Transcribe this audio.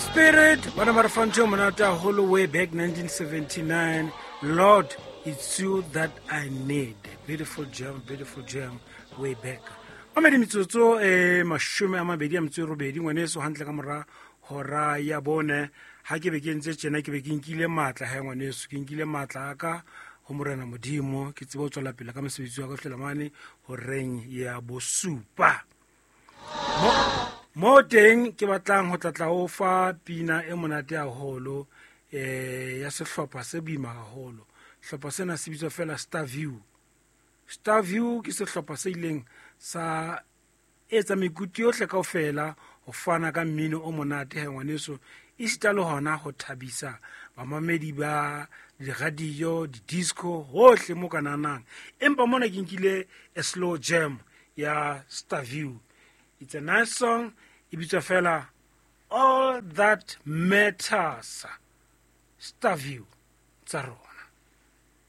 Spirit ba ne ba re fa ntho e monate haholo way back 1979, "Lord, It's You That I Need". Beautiful jam, beautiful jam way back. Mamedi, metsotso e 28 ngwaneso, hantle ka mora hora ya bone. Ha ke be ke ntse tjena, ke be ke nkile matla ha ngwaneso, ke nkile matla a ka ho Morena Modimo, ke tsebe ho tswela pele ka mosebetsi wa ka fihlela mane horeng ya bosupa. Mo teng ke batlang ho tlatla o fa pina e monate haholo ya sehlopha se boima haholo. Sehlopha sena se bitswa fela Star View. Star View ke sehlopha se ileng sa etsa mekutu yohle kaofela ho fana ka mmino o monate he ngwaneso, esita le hona ho thabisa bamamedi ba di-radio, di-disco, hohle mo ka nanang. Empa mona ke nkile a slow jam ya Star View. It's a nice song, e bitswa fela "All That Matters". Star View tsa rona.